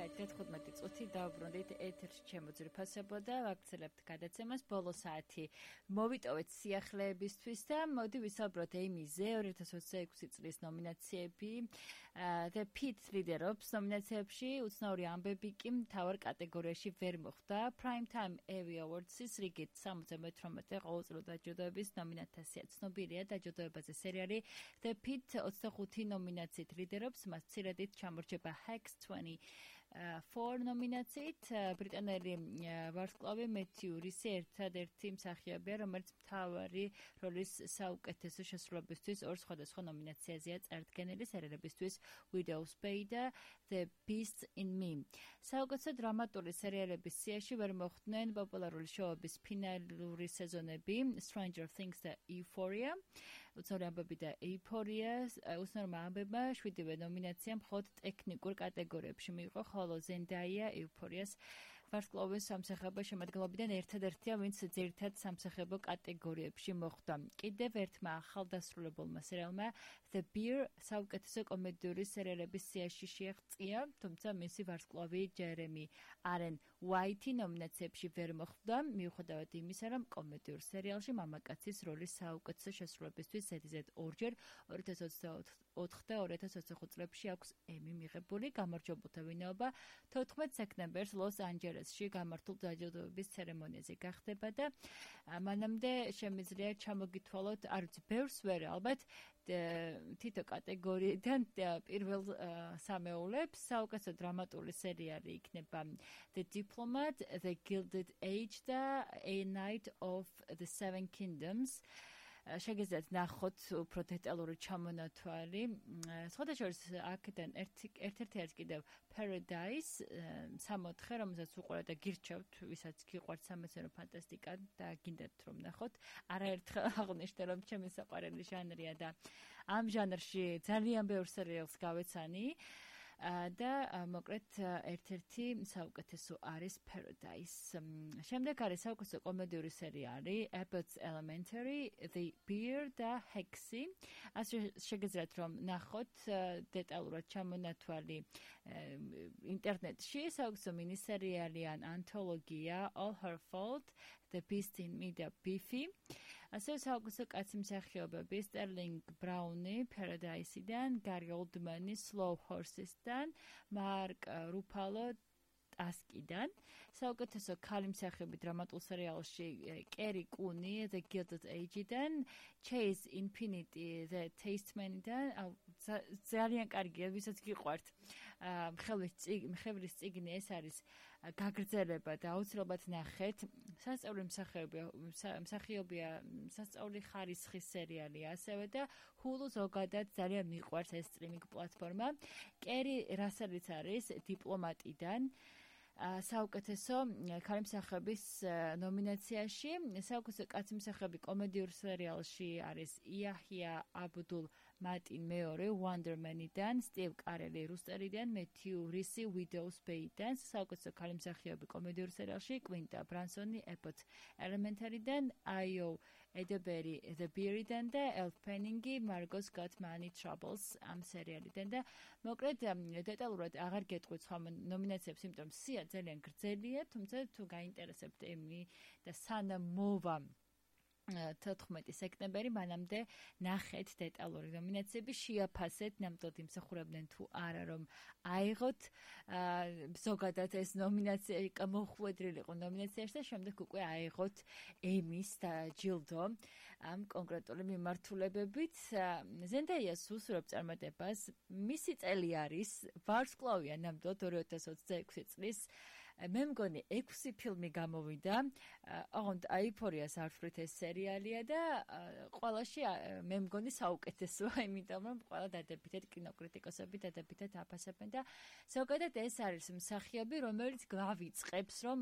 11:15 წუთი დავბრუნდით ეთერში ჩემოძრიფასებო და ვაგრძელებთ გადაცემას ბოლო საათი. მოვიტოვეთ სიახლეებისთვის და მოდი ვისაუბროთ ეიმიზე 2026 წლის ნომინაციები. The Pit ლიდერობს ნომინაციებში, უცნაური ამბები კი მთავარ კატეგორიაში ვერ მოხვდა. Primetime Emmy Awards-ის რიგით 78 ყოველწლიურ დაჯილდოების ნომინანტთა სია ცნობილია დაჯილდოებაზე სერიალი The Pit 25 ნომინაციით ლიდერობს, მას მცირედით ჩამორჩება Hacks 24 ნომინაციით. ბრიტანელი ვარსკვლავი მეთიუ რისი ერთადერთი მსახიობია, რომელიც მთავარი როლის საუკეთესო შესრულებისთვის ორ სხვადასხვა ნომინაციაზეა წარდგენილი სერიალებისთვის Widow's Bay და The Beast in Me. საუკეთესო დრამატული სერიალების სიაში ვერ მოხვდნენ პოპულარული შოუების ფინალური სეზონები Stranger Things და Euphoria. უცნაური ამბები და Euphoria უცნაურმა ამბებმა 7-ვე ნომინაცია მხოლოდ ტექნიკურ კატეგორიებში მიიღო, ხოლო Zendaya Euphoria's ვარსკვლავის სამსახიობო შემადგენლობიდან ერთადერთია, ვინც ძირითად სამსახიობო კატეგორიებში მოხვდა. კიდევ ერთმა ახალდასრულებულმა სერიალმა The Bear საუკეთესო კომედიური სერიალების სიაში შეაღწია, თუმცა მისი ვარსკვლავი Jeremy Allen White ნომინაციებში ვერ მოხვდა, მიუხედავად იმისა, რომ კომედიურ სერიალში მამაკაცის როლის საუკეთესო შესრულებისთვის ზედიზედ ორჯერ 2024 და 2025 წლებში აქვს ემი მიღებული. გამარჯვებულთა ვინაობა 14 სექტემბერს ლოს-ანჯელესში გამართულ დაჯილდოების ცერემონიაზე გახდება და მანამდე შემიძლია ჩამოგითვალოთ, არ ვიცი, ბევრს ვერ ალბათ თითო კატეგორიიდან პირველ სამეულებს. საუკეთესო დრამატული სერიალი იქნება The Diplomat, The Gilded Age და A Night of the Seven Kingdoms. შეგიძლიათ ნახოთ უფრო დეტალური ჩამონათვალი. სხვადასხვა აქედან ერთ-ერთი არის კიდევ Paradise 64, რომელსაც უყურებთ და გირჩევთ, ვისაც გიყვართ სამეცნიერო ფანტასტიკა და გინდათ რომ ნახოთ. არაერთხელ აღნიშნე, რომ ჩემი საყვარელი ჟანრია და ამ ჟანრში ძალიან ბევრ სერიალს გავეცანი. და მოკლედ ერთ-ერთი საუკეთესო არის Paradise. შემდეგ არის საუკეთესო კომედიური სერიალი Abbott's Elementary, The Bear და Hexy. ასე შეგიძლიათ რომ ნახოთ დეტალურად ჩამონათვალი ინტერნეტში. საუკეთესო მინისერიალი ან ანთოლოგია All Her Fault, The Beast in Me და Beefy. ასევე საუკეთესო კაცი მსახიობები Sterling Brown-ი Paradise-დან, Gary Oldman-ი Slow Horses-დან, Mark Ruffalo ასკიდან. საუკეთესო ქალი მსახიობი დრამატულ სერიალში კერი კუნი The Gilded Age-დან, Chase Infinity The Tasteman-დან. ძალიან კარგია, ვისაც გიყვართ მხევრის წიგნი, ეს არის გაგრძელება და აუცილებლად ნახეთ. სასწაული მსახიობია სასწაული ხარისხის სერიალია ასევე და Hulu ზოგადად ძალიან მიყვარს ეს სტრიმინგ პლატფორმა. კერი რასელიც არის დიპლომატიდან. საუკეთესო ქალი მსახიობის ნომინაციაში. საუკეთესო კაცი მსახიობი კომედიურ სერიალში არის იაჰია აბდულ მატინ მეორე Wonder Man-დან, Steve Carell რუსტერიდან, Matthew Rhys Widow's Bay-დან. საუკეთესო ქალი მსახიობი კომედიურ სერიალში Quinta Brunson Abbott's Elementary-დან, Ayo Edebiri The Bear-დან და Elle Fanning Margot's Got Money Troubles ამ სერიალიდან და მოკლედ დეტალურად აღარ გეტყვით სხვა ნომინაციებს, იმიტომ რომ სია ძალიან გრძელია, თუმცა თუ გაინტერესებთ ემი და სანამ მოვა 14 სექტემბერი, მანამდე ნახეთ დეტალური ნომინაციები, შეაფასეთ, ნამდვილად იმსახურებდნენ თუ არა, რომ აიღოთ ზოგადად ეს ნომინაცია მოხვედრილი იყო ნომინაციაში და შემდეგ უკვე აიღოთ ემის დაჯილდო ამ კონკრეტული მიმართულებებით. Zendaya-ს უსურვებ წარმატებას, მისი წელი არის ვარსკვლავია ნამდვილად 2026 წლის. მე მგონი 6 ფილმი გამოვიდა, ოღონდ Euphoria-ს არ ვთვლით ეს სერიალია და ყველაში მე მგონი საუკეთესოა, იმიტომ რომ ყველა დადებითად კინოკრიტიკოსები დადებითად აფასებენ და ზოგადად ეს არის მსახიობი, რომელიც გავიწყებს, რომ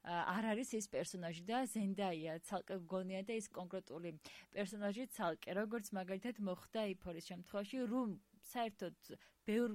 არ არის ეს პერსონაჟი და Zendaya ცალკე გონია და ეს კონკრეტული პერსონაჟი ცალკე, როგორც მაგალითად მოხდა Euphoria-ის შემთხვევაში, რომ საერთოდ ბევრ